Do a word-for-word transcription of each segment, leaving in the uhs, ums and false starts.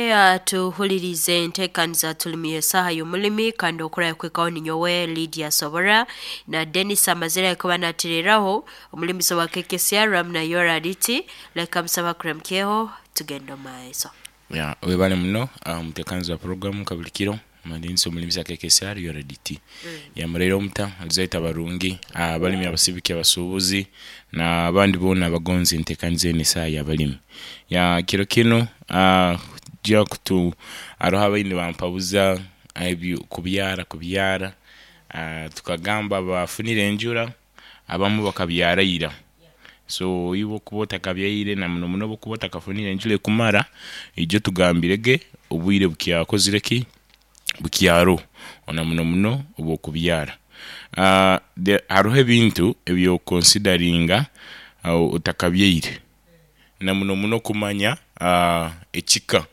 Uh, Tuhulirize enteekaniza tulimi esaaha y'omulimi, kandi okurayo kwikaho ninyowe Lydia Sobora na Denis amazire kuba natireraho omulimisi wa K K C R na Yorariti. Leka musaba kuramukyeho, tugenda omu maiso. Ya, webale muno omutekanizi wa program kabulikiro mandinsi omulimisi K K C R U R D T. Yamureire omuta alizaita abarungi, abalimi, abasibiki, abasubuzi n'abandi boona abagonza entekaniza enu, esaaha y'abalimi. Ya, kiro kinu tujya kutu haroho abaine bampabuza ebyo kubyara kubyara tukagamba bafunire enjura, abamu bakabyara ira. So iwe okuba otakabyaire, na muno muno obu okuba otakafunire enjura ekumara, ijo tugambirege obwire bukyakozire ki? Bukyaroho, na muno muno obw'okubyara. Haroho ebintu eby'okukonsidaringa otakabyaire, na muno muno okumanya ekika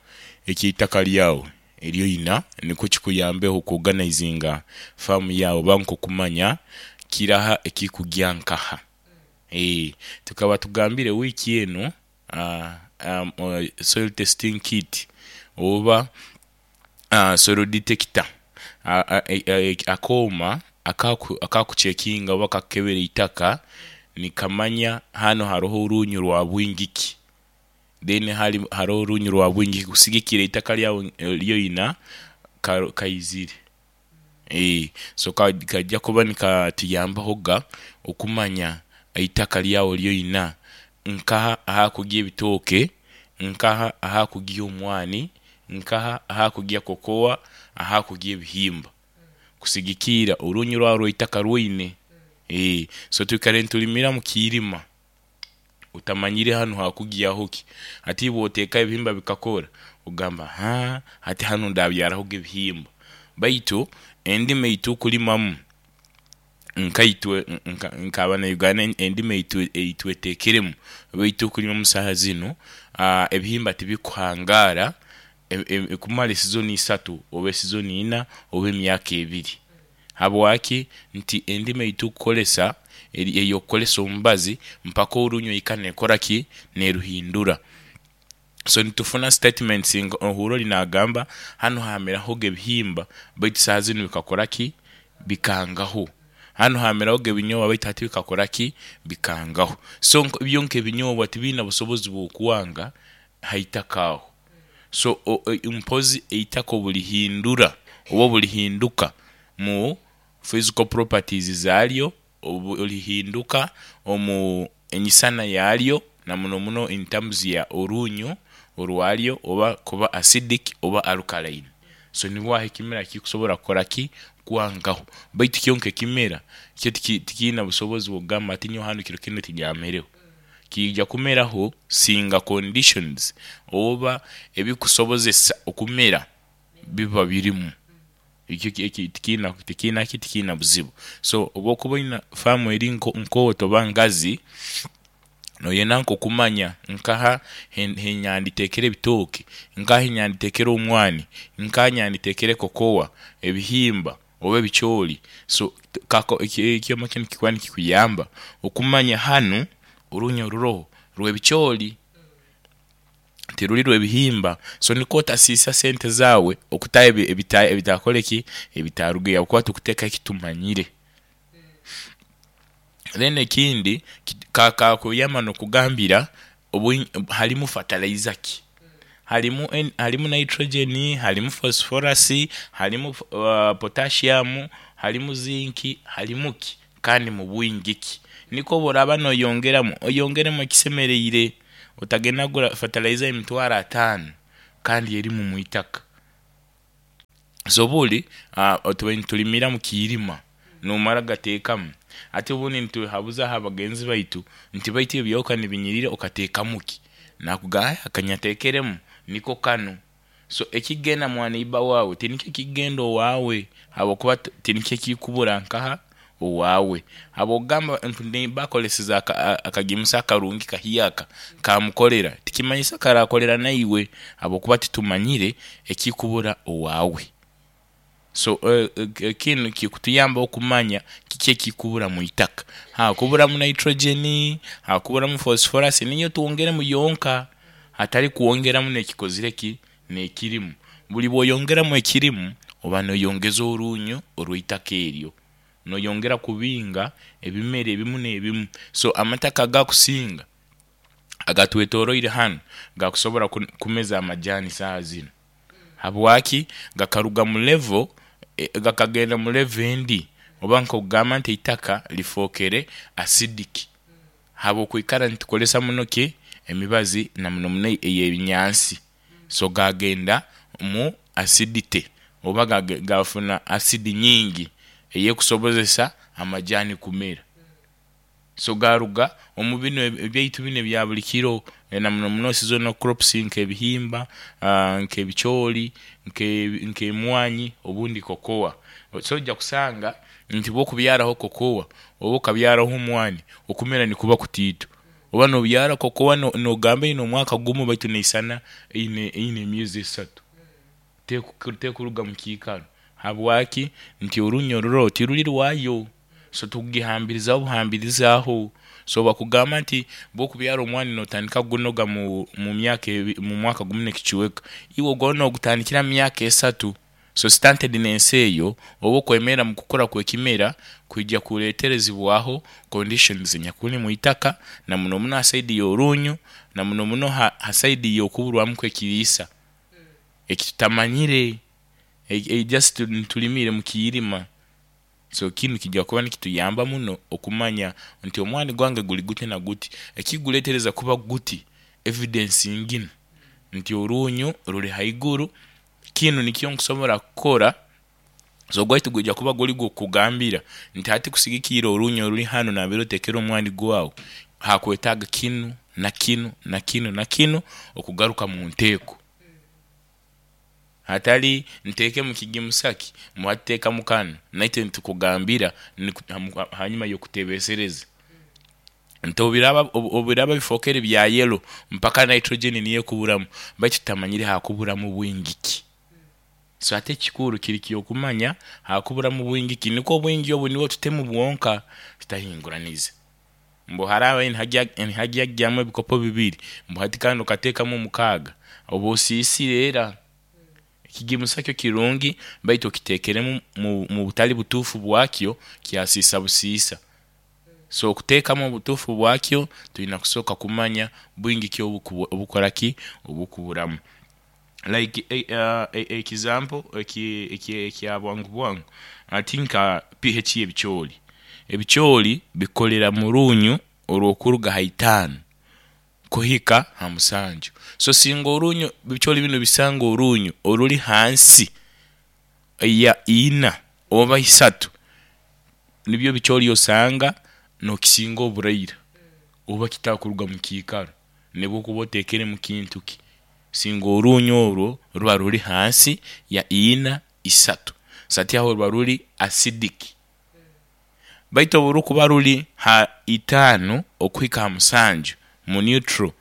eky'eitaka lyawe eryoina, nikwo kikuyambeho okwoganayizinga faamu yaawe oba nk'okumanya kiraha ekikugya nkaha. Eeh tukaba tugambire wiiki enu soil testing kit oba soil detector, akooma akakucekinga oba akakukebera eitaka nikamanya hanu haroho orunyu rwa bwingi ki, then haroho orunyu rwa bwingi ki kusigikiira eitaka lyawe lyoina kaizire. So kaija kuba nikatuyambaho ga okumanya eitaka lyawe lyoina nkaha ahakugya ebitooke, nkaha ahakugya omwani, nkaha ahakugya kokowa, ahakugya ebihimba kusigikiira orunyu lwawe orw'eitaka rwoine. So twikaire nitulimira omu kiirima otamanyire hanu hakugyaho ki, hati bwotekaho ebihimba bikakora ogamba, haa hati hanu ndabyarahoga ebihimba, baitu endima eyitukulimamu nkaitwe nk'abanauganda, endima eyitwetekeremu oba eyitukulimamu saaha zinu, ebihimba tibikuhangaara kumara esizoni isatu oba esizoni ina oba emyaka ebiri. Habwaki? Nti endima eyitukukolesa eri ey'okukolesa omubazi mpaka orunyu eika nekola ki? Neruhindura. So nitufuna statements nga ohuura ori naagamba hanu haamerahoga ebihimba baitu saaha zinu bikakora ki? Bikangaho. Hanu haamerahoga ebinyobwa baitu hati bikakora ki? Bikangaho. So byo nk'ebinyobwa tibiina busobozi bw'okwanga haitaka aho. So mpozi eitaka obulihindura oba obulihinduka mu physical properties zaalyo, obulihinduka omu enyisana yaalyo na muno muno in terms ya orunyu orwalyo oba kuba acidic oba alkaline. So nibwo aho ekimera kikusobola kukola ki? Kwangaho. Baitu kyonka ekimera kyo tikiina busobozi bwakugamba nti nyowe hanu kiro kinu tinyamireho. Kiija kumeraho singa conditions oba ebikusobozesa okumera biba birimu. Ekyo tikiina tikiina ki? Tikiina buzibu. So obwokuba oina faamu eri nkooto oba ngazi, noyenda nk'okumanya nkaha henyanditeekere ebitooke, nkaha henyanditeekere omwani, nkaha henyanditeekere kokowa, ebihimba oba ebicooli. So ekyoma kinu kikuba nikikuyamba okumanya hanu orunyu oruroho rw'ebicooli tiruri rw'ebihimba, so nikwo otasiisa sente zaawe okutaho ebitakoleki? Ebitarugireyo ahabwokuba tukuteekaho ekitumanyire. Then ekindi kakuyamba n'okugambira harimu fertilizer ki, harimu harimu nitrogen, harimu phosphorus, harimu potassium, harimu zinc, harimu ki kandi mu bwingi ki? Nikwo obworaba noyongeramu, oyongeremu ekisemereire, otagenda kugura fertilizer ya emitwaro ataano kandi erimu omwitaka. So buri tubaire nitulimira mu kiirima nomara gateekamu. Hati obundi nituhabuzaho abagenzi baitu nti baitu ebyo byawe kanibinyirira okateekamu ki? Nakugamba akanyateekeremu niko kanu. So ekikugenda mwa neighbour waawe tinikyo ekikugenda owaawe ahabwokuba tinikyo ekikubura nkaha? Owaawe. Habwokugamba nti neighbour akoleseze akagimusa akarungi kahyaka kamukolera, tikimanyisa karakolera naiwe ahabwokuba titumanyire ekikubura owaawe. So kinu kikutuyamba okumanya kiki ekikubura mwitaka, hakuburamu nitrogen, hakuburamu phosphorus, niyo twongeremu yonka hatari kwongeramu n'ekikozire ki? N'ekirimu buli bw'oyongeramu ekirimu, oba noyongeza orunyu orw'itaka eryo, noyongera kubinga ebimera ebimu n'ebimu. So amataka agakusinga agatwetoroire hanu gakusobora ku- kumeza amajani saaha zinu. Habwaki? Gakaruga mu level, eh, gakagenda mu level endi, oba nk'okugamba nti eitaka lifookere acidic habw'okwikara nitukozesa muno ki emibazi, na muno muno ey'ebinyansi. So gagenda mu acidity oba gage- gafuna acid nyingi eyekusobozesa amajani kumera. So garuga omu binu ebyaitu binu ebya buli kiro, na muno muno seasonal crops, nk'ebihimba, ah, nk'ebicooli, nke- nk'emwanyi, obundi kokowa. So ojja kusanga nti bw'okubyaraho kokowa oba okabyaraho omwani, okumera nikuba kutiito. Oba nobyara kokowa, no- nogamba eine omwaka gumu, baitu neisana eine eine emyezi esatu teku- tekuruga mu kiikaro. Habwaki? Nti orunyo ruro tiruri rwayo, so tukugihambirizaho buhambirizaaho. So bakugamba nti bw'okubyara omwani notandika kugunoga mu, mu myaka ebi- mu mwaka gumu n'ekicweka, iwe ogwo nogutandikira mu myaka esatu. So standard eyo oba okwemera mu kukura kw'ekimera kwija kuleeterezibwaho conditions enyakuli mu itaka, na muno muno ha side y'orunyu, na muno muno ha, ha side y'okuburwamu kw'ekiriisa ekitutamanyire, e, e, just nitulimire mu kiirima. So kinu kijja kuba nikituyamba muno okumanya nti omwani gwange guli guti na guti, ekiguleetereza kuba guti, evidence nginu nti orunyu ruli haiguru, kinu nikyo nkusobora kukora. So ogwaitu gwija kuba guli gukugambira nti hati kusigikiira orunyu oruli hanu nambere otekere omwani gwawe, hakwetaaga kinu na kinu na kinu na kinu okugaruka mu nteeko, hatali nteekemu kigimusaki muhati, kanu naitwe nitukugambira niku- hamu- hanyuma y'okutebeesereza nti obiraba obiraba bifookere bya yellow mpaka nitrogen niyo ekuburamu, baitu tutamanyire hakuburamu bwingi ki. So ate ekikuru kiri ky'okumanya hakuburamu bwingi ki, nikwo obwingi obu nibwo tutemu bwonka, tutahinguraniza mbu haraba nihagyamu ebikopo bibiri, mbu hati kandi okateekamu mukaaga, oba osiisire. Era ekigimusa kyo kirungi, baitu okiteekeremu mu, mu butali butuufu bwakyo, kyasiisa busiisa. So okuteekamu obutuufu bwakyo, twina kusooka kumanya bwingi ki obuku- obukora ki obukuburamu. Like eh, uh, example eki eki ekya bwangu bwangu, ati nka P H y'ebicooli. Ebicooli bikolera mu runyu orw'okuruga ha itaano kuhika ha musanju. So singa orunyu, ebicooli binu bisanga orunyu oruli hansi ya ina oba isatu, nibyo ebicooli osanga nokisinga oburaira oba kitakuruga mu kiikaro nobwokuba oteekeremu kintu ki, singa orunyu orwo ruba ruli hansi ya ina, isatu. So hati aho ruba ruli acidic. Baitu oburukuba ruli ha itaano okuhika ha musanju, mu neutral,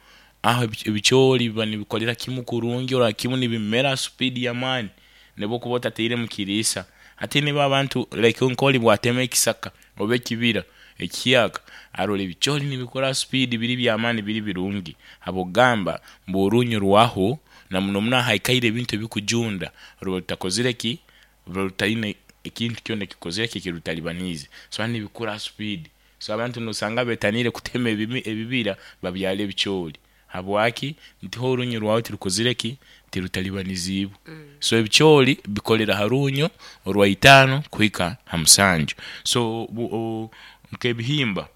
aho ebi- ebicooli biba nibikolera kimu kurungi, orora kimu nibimera speed y'amaani nobwokuba otatairemu kiriisa. Hati nibo abantu like nk'oli bwatema ekisaka oba ekibira ekihyaka, arora ebicooli nibikura speed, biri by'amaani, biri birungi, habw'okugamba mbu orunyu rwaho, na muno muno ahaikaire ebintu ebikujunda, ruba rutakozire ki, ruba rutaine ekintu kyona ekikozire ki, ekirutalibaniize. So hati nibikura speed. So abantu nosanga betaniire kutema ebimi ebibira babyale ebicooli. Habwaki? Nti ho orunyu rwawe tirukozire ki, tirutalibanizibwe. So ebicooli bikolera ha runyo orwa itaano kuhika ha musanju. So bu- o- nk'ebihimba,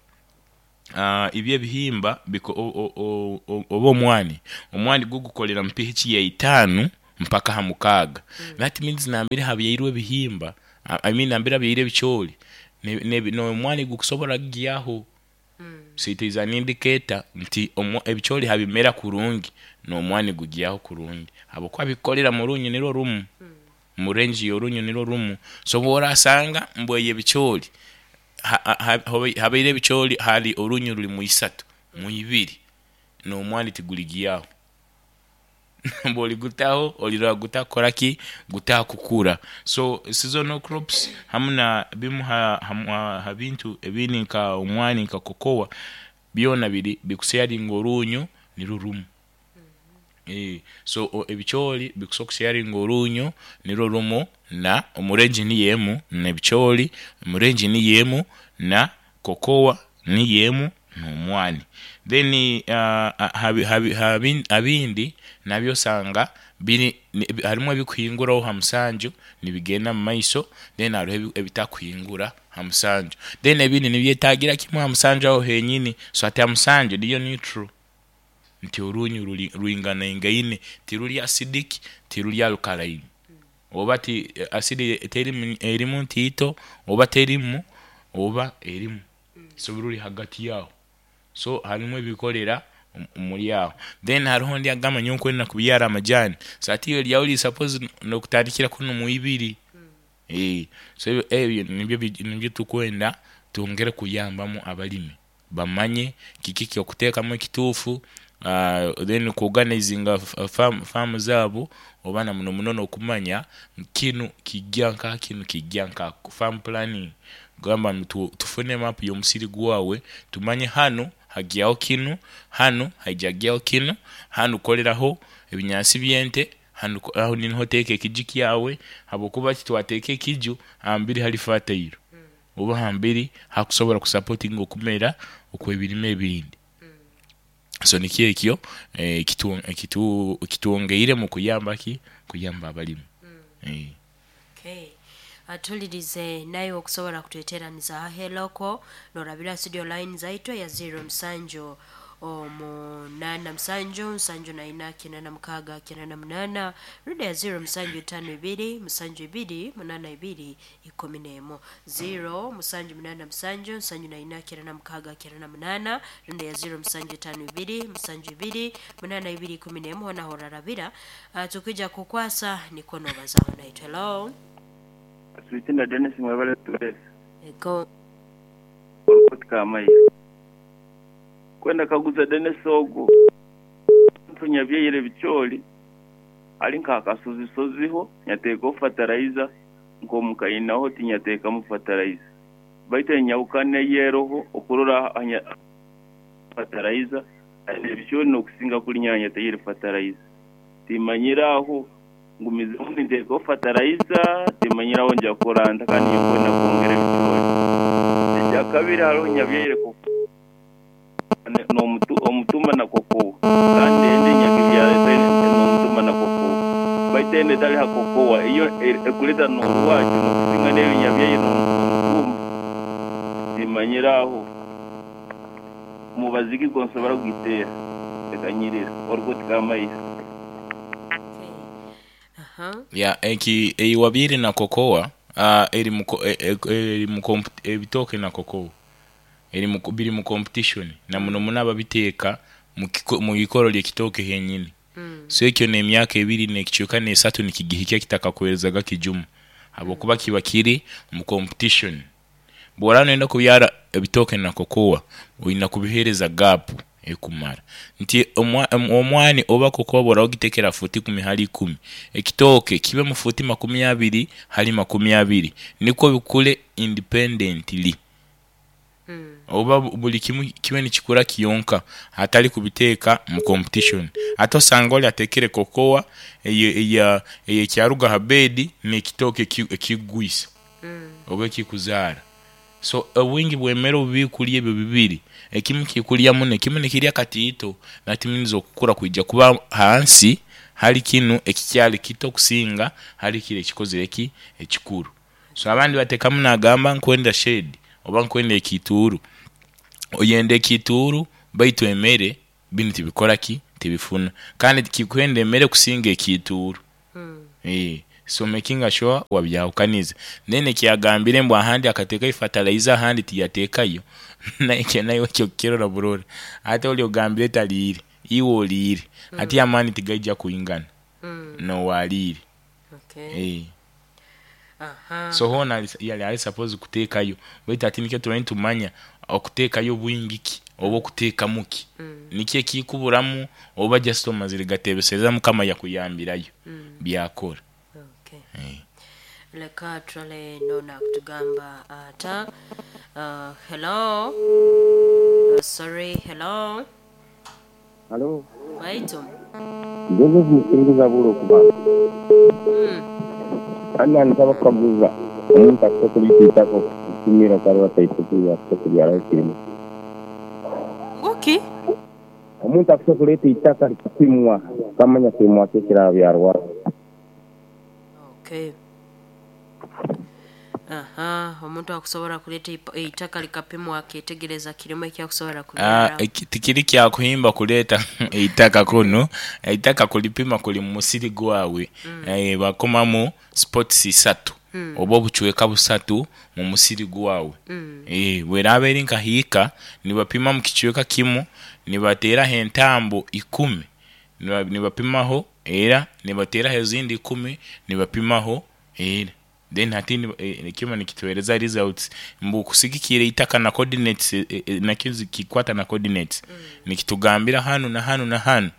uh, ibyo ebihimba biko- o- o- o- o- oba omwani omwani gwo gukolera mu P H ya itaano mpaka ha mukaaga. That means nambere habyairwe ebihimba, I mean nambere habyairwe ebicooli, n'omwani gukusobora kugyaho. So it is an indicator nti omu- ebicooli habimera kurungi, n'omwani gugyaho kurungi, habwokuba bikukolera mu runyo nirwo rumu, mu range y'orunyo nirwo rumu. So obworasanga mbu eyo ebicooli ha- ha- ha- habaire ebicooli hali orunyo ruli mu isatu, mu ibiri, n'omwani tiguligyaho, bwoligutaho olirora gutakukora ki, gutakukura. So seasonal crops hamu na bimu ha, ha, ha bintu ebindi nka omwani, nka kokowa, byona biri bikusharinga orunyu nirwo rumu. Eh, so o- ebicoori bikusobola kusharinga orunyo nirwo rumu na omurengi niyo emu n'ebicoori, omurengi niyo emu na kokowa niyo emu n'omwani. Then uh, habi, habi, habi, abindi nabyo osanga biri ni- harimu ebikuhinguraho ha musanju nibigenda mu maiso, then hariho ebi- ebitakuhingura ha musanju, then ebindi nibyetagira kimwe ha musanju aho henyini. So hati ha musanju niyo neutral nti orunyu ruri rwinganaingaine, tiruri acidic, tiruri alkaline, oba ti acid terimu erimu ntiito oba terimu oba erimu, so ruri hagati yaho. So harimu ebikorera omu- omuri aho. Then hariho ondi agamba nyowe nkwenda kubyara amajani, so hati iwe ryawe riri suppose nokutandikira kunu mu ibiri. Eh, so ebyo ebyo nibyo bi- nibyo tukwenda twongere kuyambamu abalimi bamanye kiki kyokuteekamu ekituufu, uh, then kuorganizinga farm, farm zaabo oba na muno muno n'okumanya kinu kijja nka kinu kijja nka farm planning, gamba ntu- tufune map y'omusiri gwawe, tumanye hanu hagyaho kinu, hanu haijagyaho kinu, hanu koleraho ebinyansi by'ente, hanu ko- aho niho oteeka ekiju kyawe, habwokuba titwateeka ekiju hambiri hali fertile oba hambiri hakusobora kusupportinga okumera okw'ebirime ebindi. So nikyo ekyo eh, kitu- kitu- kitwongeire mu kuyamba ki kuyamba abalimi. Eh. Okay. Atulirize naye okusobola kutweteraniza aheloko norabira studio line zaitu ya zero musanju omunana musanju nsanju na ina kinana mukaga kinana munana, ruda ya zero musanju itano ibiri musanju ibiri munana ibiri ikumi nemo, zero musanju munana musanju nsanju na ina kinana mukaga kinana munana, ruda ya zero musanju itano ibiri musanju ibiri munana ibiri ikumi nemo. Hona horarabira uh, tukija kukwasa niko nobazaho naitwe. Hello. Sweetina Dennis mwebale twese. Ego. Orukoti kamayi kwenda kaguza Dennis ogu ntunyabyeyire ebicoori ali nk'akasozisoziho nyateekaho fertilizer nk'omukainaho tinyateekamu fertilizer, baitu enyawukana eyeroho okurora anya fertilizer ebicoori n'okusinga kuli nyanyateire fertilizer, timanyire aho ngumizemu ninteekaho fertilizer, timanyire aho nja kuranta kandi nyokwenda kwongera ebicoori. Ekyakabiri hariho nyabyeyire n'omutu omutuma na kokowa, kandi ende nyakibyara n'omutuma na kokowa, baitu ende etali ha kokowa iyo e- ekuleta n'orwakyo n'okusinga n'eyo nyabyeyire n'omutuma, timanyire aho mubaziki gonsobora kugiteera ekanyirira orukoti kamaisa. Okay. Aha. Ya eki eiwabyire na kokowa uh, eri mu ko- e- e- eri mu comp- ebitooke na kokowa eri mu biri mu competition na muno muno ababiteeka mu kiko- mu ikoro ly'ekitooke henyini. Mm. So ekyo n'emyaka ebiri n'ekicweka n'esatu nikigihikya kitakakuherezaga kijumu, habwokuba kiba kiri mu competition. Bw'oraba noyenda kubyara ebitooke na kokowa oyina kubiheereza gap ekumara nti omwa- om- omwani oba kokowa bw'oraba ogitekera futi ikumi hali ikumi, ekitooke kibe mu futi makumi abiri hali makumi abiri, nikwo bikule independently. Mm. Oba bu- buli kimu kibe nikikura kiyonka hatali kubiteeka mu competition. Ate osanga oli atekere kokowa eyo eya eyekyaruga ha bedi n'ekitooke eki- ekigwisa Mm. oba ekikuzaara. So obwingi bw'emmere obu bikurya ebyo bibiri, ekimu kikurya muno ekimu nikirya katiito, that means okukura kwija kuba hansi hali kinu ekikyali kito kusinga hali kiri ekikozire ki ekikuru. So abandi bateekamu nagamba nkwenda shade oba nkwenda ekituuru, oyenda ekituuru baitu emere binu tibikora ki tibifuna, kandi kikwenda emere kusinga ekituuru. Mm. Eh, so making sure wabyahukaniza. Then ekyagambire mbu ahandi akateekayo fertilizer ahandi tiyateekayo, naye nawe ekyo kukirora burora, ate oli ogambire taliire iwe oliire, ate amaani tigaija kwingana Mm. nowaliire. Okay. Eh. Aha. So hoona ali- yali ali suppose kuteekayo, baitu ati nikyo tubaire nitumanya okuteekayo bwingi ki oba okuteekamu ki, Mm. nikyo ekikuburamu oba just omazire gateebesereza mukama yakuyambirayo Mm. byakora. Okay. Eh. Leka turale nona kutugamba ata. Uh, hello. Uh, sorry, hello. Halo, Waitu. Joseph Musinguza buro kuba. Ana nsaba kukaguza omuntu akusobola itako kutumira karwa taituku akusobola kirimo. Nguki? Omuntu akusobola itaka likapimwa kamanya kirimwa kye kirabyarwa. Okay. Aha, omuntu akusobola kuleeta ipa- eitaka likapimwa aketegereza kirimu ekyakusobola Ah, kubyara. eki- tikiri kyakuhimba kuleeta eitaka kuno eitaka kulipima kuli mu musiri gwawe mm. eh, bakomamu spots isatu mm. oba obucweka busatu mu musiri gwawe mm. eh, bweraaba eri nkahiika nibapima mu kicweka kimu nibateeraho entambo ikumi Niba- nibapimaho era nibateeraho ezindi ikumi nibapimaho era then hati ni- eh, kimo nikituhereza results mbu kusigikira itaka na coordinates eh, eh, nakyo zikikwata na coordinates mm. nikitugambira hanu na hanu na hanu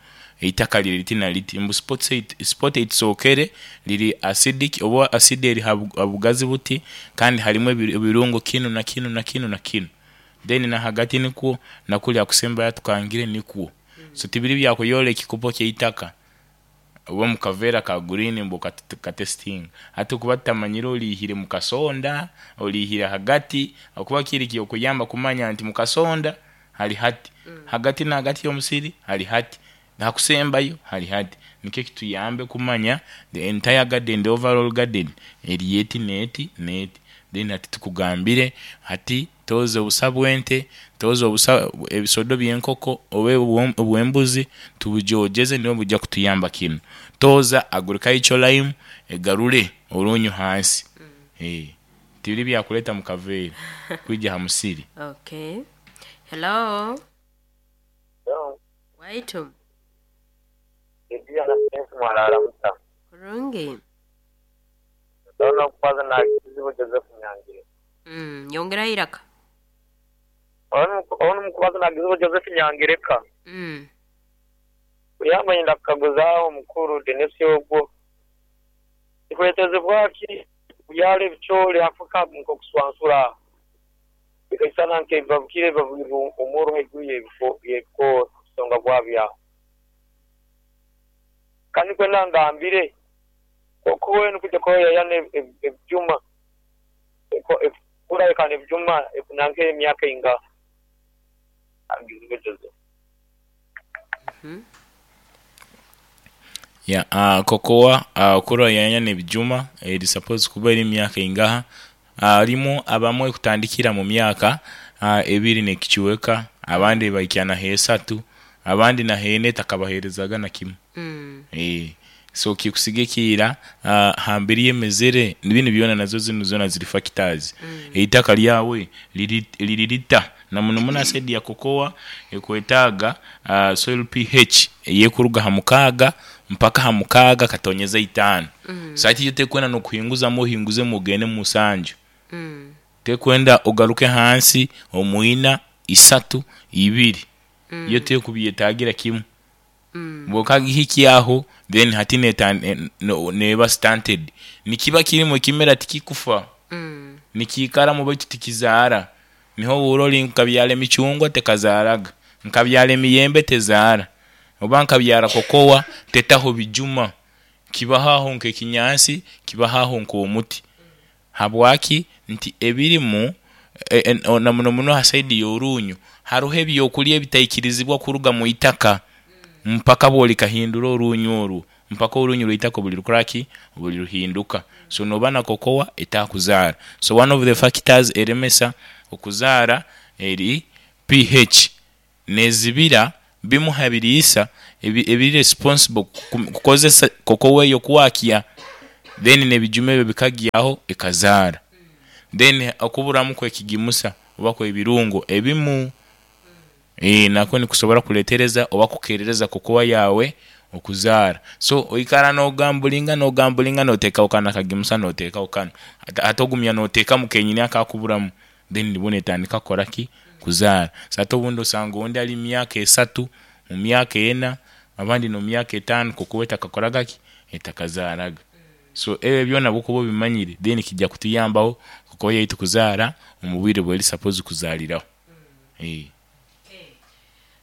eitaka liri liti na liti mbu spot eight- spot eitusookere liri acidic oba acid eri ha bu- ha bugazi buti kandi harimu ebi- ebirungo kinu na kinu na kinu na kinu then na hagati nikwo nakuli akusembayo tukangire nikwo mm. so tibiri byakuyola ekikopo kyeitaka oba mukaveera ka green mbu kat- katesting ate okuba tutamanyire orihire mukasonda orihire hagati okuba kiri kyokuyamba kumanya nti mukasonda hali hati mm. hagati na hagati y'omusiri hali hati hakusembayo hali hati nikyo kituyambe kumanya the entire garden the overall garden eri eti neti neti then hati tukugambire hati toza obusa bw'ente toza obusa ebisodo by'enkoko oba obw'em- obw'embuzi tubujojeze nibo bujja kutuyamba kinu toza agriculture lime egarure orunyu hansi mm. eh tibiri byakuleta mu kaveera kwija ha musiri Okay. Hello. Waitu. Ediana Prince Mwarara Musa. Kurungi. Ndabona kubaza na kizibu Joseph Nyangire. Mm, yongera iraka. Ono mukubaza na kizibu Joseph Nyangireka. Mm. Kuyamba ndakaguza omukuru Denis ogwo. Ikwetezebwa ki kubyala ebicoori Afrika nk'okuswansura. Bikaisana nk'ebibabukire bibabwirwe omuro haiguru y'ebiko- y'ebikoora kusonga bwabyaho. Kandi kwenda ngambire koko wena kujya koyayana ebyuma kurayekana ebyuma nanke emyaka inga angizibe Joseph. ya uh, kokowa uh, kura yanya nebijuma eri suppose kuba eri myaka ingaha arimu abamwe kutandikira mu myaka uh, ebiri nekikiweka abandi baikya hesatu abandi na hene takabaherezaga na kimu Mm. eh so kikusigikira uh, hambiri yemezere nibintu byona nazo zino zona ziri factors mm. eitaka lyawe liri lirita na muno muno acid ya kokoa ekwetaaga uh, soil pH eyekuruga ha mukaaga mpaka ha mukaaga katonyeza itaano mm. so ati yo tekwenda nokuhinguzamu ohinguze mugende musanju Mm. tekwenda ogaruke hansi omwina isatu ibiri mm. yo tekubyetagira kimu Mm. bwokagihikyaho then hati neta ne- no- neba stunted nikiba kirimu ekimera tikikufa Mm. nikiikaramu baitu tikizaara niho buroli nkabyara emicungwa tekazaaraga nkabyara emiyembe tezaara oba nkabyara kokowa tetaho bijuma kibaho nk'ekinyansi kibaho nk'omuti habwaki nti ebirimu e, e, o- na muno muno ha saidi y'orunyu hariho ebyokulya ebitaikirizibwa kuruga mu itaka mpaka bwolikahindura orunyu orwo mpaka orunyu rw'itaka buli rukoraki buli ruhinduka so noba na kokowa etakuzaara so one of the factors eremesa okuzaara eri pH nezibira bimu ha biriisa ebi- ebiri responsible ku- kukozesa kokowa eyo kwakya then nebijuma ebyo bikagyaho ekazaara then okuburamu kwekigimusa oba kwebirungo ebimu eh nako nikusobora kuletereza oba kukerereza kokowa yawe okuzaara so oikara nogambulinga nogambulinga noteekaho kano akagimusa noteekaho kano ate ate ogumya noteekamu kenyini akakuburamu then nibwo netandika kukora ki kuzaara so ate obundi osanga ondi ali mu myaka esatu mu myaka ena abandi no myaka etaano kokowa etakakoraga ki etakazaaraga so ebyo byona bwokuba obimanyire then kijja kutuyambaho kokowa yaitu kuzaara omu bwire bweri suppose kuzaaliraho eh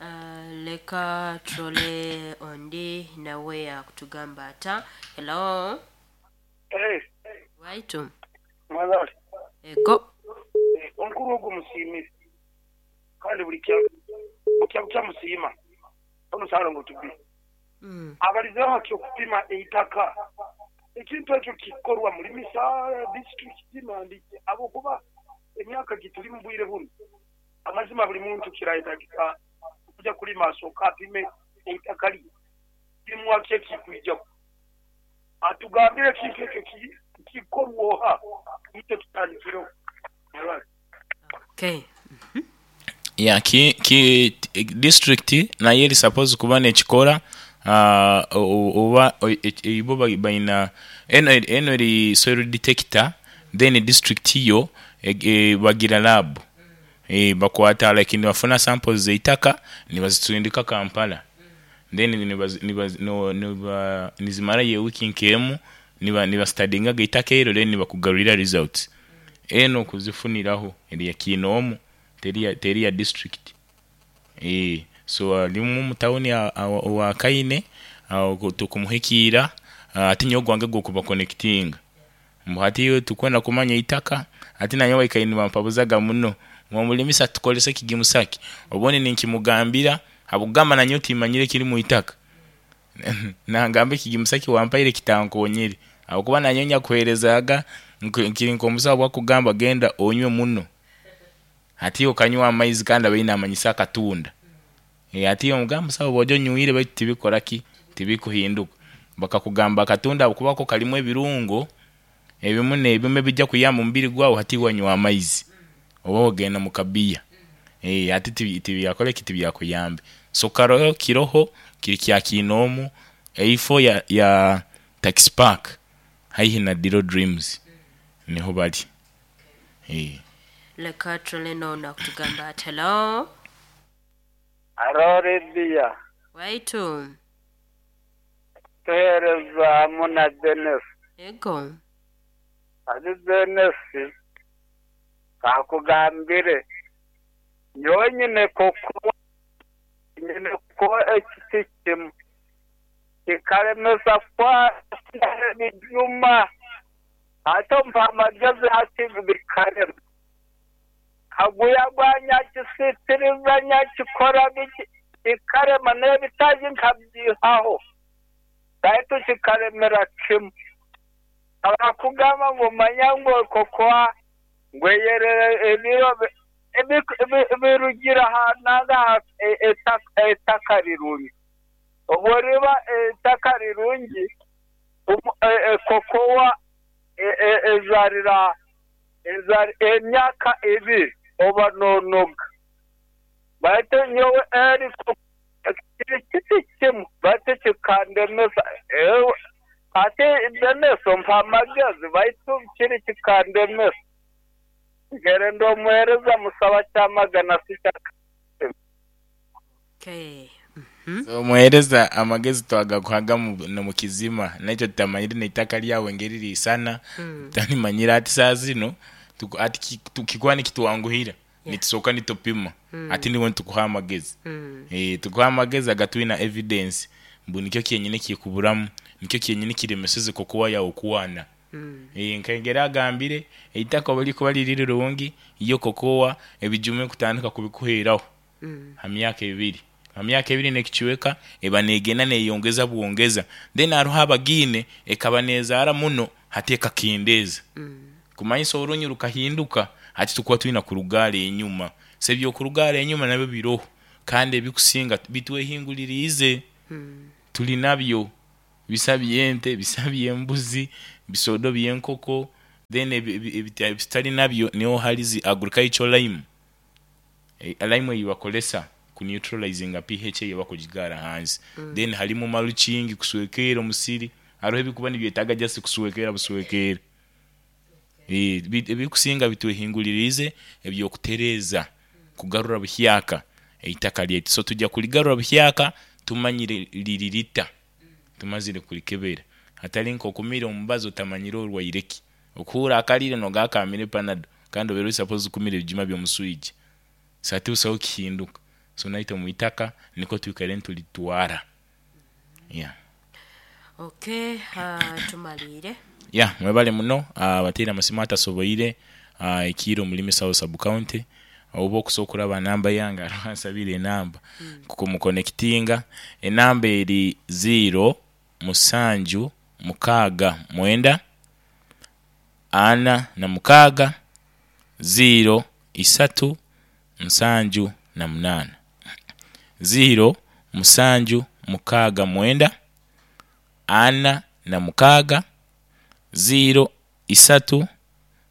Uh, Leka turole ondi nawe akutugamba ata. Hello. Eh, Waitu. mwabale. Ego. Eh, omukuru ogwo musiimire kandi buli kya kya kyamusiima omusalo tubi Mm. abalizeho okupima eitaka ekintu ekyo kikorwa muri misaala disitulikiti nandi abokuba emyaka gituli mu bwire buno amazima buli muntu kirayetagika okuja kulima asooka apime eitaka lye kirimwaki ekikwijako atugambire ekintu ekyo ki- kikorwa oha ite tutandikireho Mwabale. Okay. Ya ki, ki district nayo eri suppose kuba nekikora uh, oba ibo baina eno eno eri soil detector, then district yo e, e, bagira lab e, bakwata like nibafuna samples zeitaka nibazitundika Kampala, then nibaz, nibaz, no, niba, nizimara ye wiki nkemu niba niba eitaka ero, then nibakugarurira results eno kuzifuniraho eri ya kinoomu teri ya, teri ya district eh. So alimu mu town wa Kaine tukumuhikiira ati nyo gwange gokuba connecting mbu hati tukwenda kumanya itaka ati nanyo waikaine bampabuzaga muno mwamulimisa tukolese kigimusaki obone ninkimugambira habugamba nanyo timanyire kiri mu itaka nangambe kigimusaki wampaire kitankonyere abakuba nanyo nyakuherezaga nkiri nkomusawo bwakugamba genda onywe muno ati okanywa amaizi kandi abaine amanyisa akatunda e, ati omugamba musawo bwojo nywire baitu tibikora ki tibikuhinduka bakakugamba akatunda kuba ko kalimu ebirungo ebimu n'ebimu bijja kuyamba omubiri gwawe hati wanywa amaizi oba ogenda mu kabiya e, ati tibyakora ki tibyakuyambe. So karoho kiroho kiri kya kinoomu eifo ya, ya taxi park haihi na Diro Dreams niho bali e. Leka turole nono akutugamba ati hello. Aro Lydia. Waitu. Tuhereza muna Dennis. Ego. Ati Dennis kakugambire nyonyine koko nyine ko ekiti kimu kikaremesa kwa bijuma ate mpa amagezi ati bikarema kaguya gwa nyakisitiriza nyakikora biki kikarema n'ebitaji nkabyihaho baitu kikaremera kimu abakugamba ngu manya ngu kokoa ngweyerere ebiro birugira hanaga ettaka rirungi obwo riba ettaka rirungi kokoa ezarira emyaka ebiri oba nonoga baitu nyowe eri kiti kimu baitu kikandemesa ate demeso mpa amagezi baitu kiri kikandemesa ngere ndomuhereza musaba kyamagana sikyaka. Okay. So muhereza amagezi twagakuhaga mu kizima nakyo tutamanyire n'eitaka lyawe ngeri lisana mm. Tanimanyira ati saa zino ati tukikuwa nikituwanguhira yeah. Nitusoka nitupima mm. Ati niwe nitukuha amagezi mm. Eh, tukuha amagezi agatwina evidence mbu nikyo kyenyine kikuburamu nikyo kyenyine kiremeseze kokuwa yawe kuwana mm. Eh, nkengera agambire eitaka bali kuba liri rirungi iyo kokowa ebijume kutandika kubikuheraho mm. Ha myaka ebiri ha myaka ebiri nekichiweka eba negenda neyongeza buongeza then aruha abagine ekaba nezara muno hateka kindeza mm. Kumanyisa orunyu rukahinduka hati tukuwa twina kurugara enyuma sebyo kurugara enyuma nabyo biroho kandi ebikusinga bitwehingulirize mm. Tuli nabyo bisabye ente bisabye embuzi bisodo byenkoko then ebitali nabyo niho halizi agricultural lime e, lime yibakolesa ku neutralizing pH yebakugigara hansi mm. Then halimu maluchingi kuswekera omusiri arohe bikuba nibyetaga just kuswekera buswekera eh ebikusinga bitwehingulirize ebyokutereza kugarura buhyaka eitaka lyetu. So tujja kuligarura buhyaka tumanyire liririta tumazire kulikebera hatali nkokumira omubazo tamanyire orwaireki okuhura akalire nogakamire panado kandi obero suppose kumira ebijuma byomuswiji sati usaho kihinduka So naitwe mu itaka niko twikaire nitulitwara, yeah. Okay, uh, tumalire. Ya, mwebale muno. Abateire amasimu atasoboire uh, ekiiro mulimi South Sub County, oba okusobola okuraba namba yange, hariho ansabire enamba kumukonekitinga. Enamba eri ziro musanju mukaaga mwenda ana na mukaaga ziro isatu nsanju na munaana, ziro musanju mukaaga mwenda ana na mukaaga ziro isatu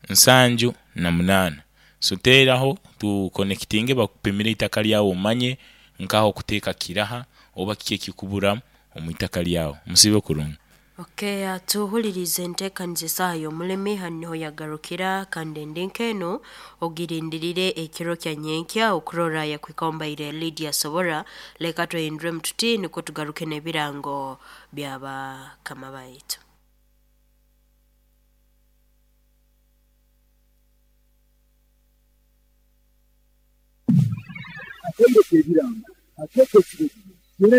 nsanju na munaana. So teeraho tukonekitinge, bakupimire itaka lyawe, omanye nkaho okuteeka kiraha oba kiki ekikubura omu itaka lyawe. Musibe kurungi. Okay, uh, tuhulirize enteekaniza esaaha y'omulimi hanu niho yagarukira, kandi endi nk'eno ogirindirire ekiro kya nyenkya okurora yakwika ombaire Lydia Sobora. Leka twehinduremu tuti nukwo tugaruke n'ebirango by'abakama baitu. Akatebe k'ebirango akeekekire.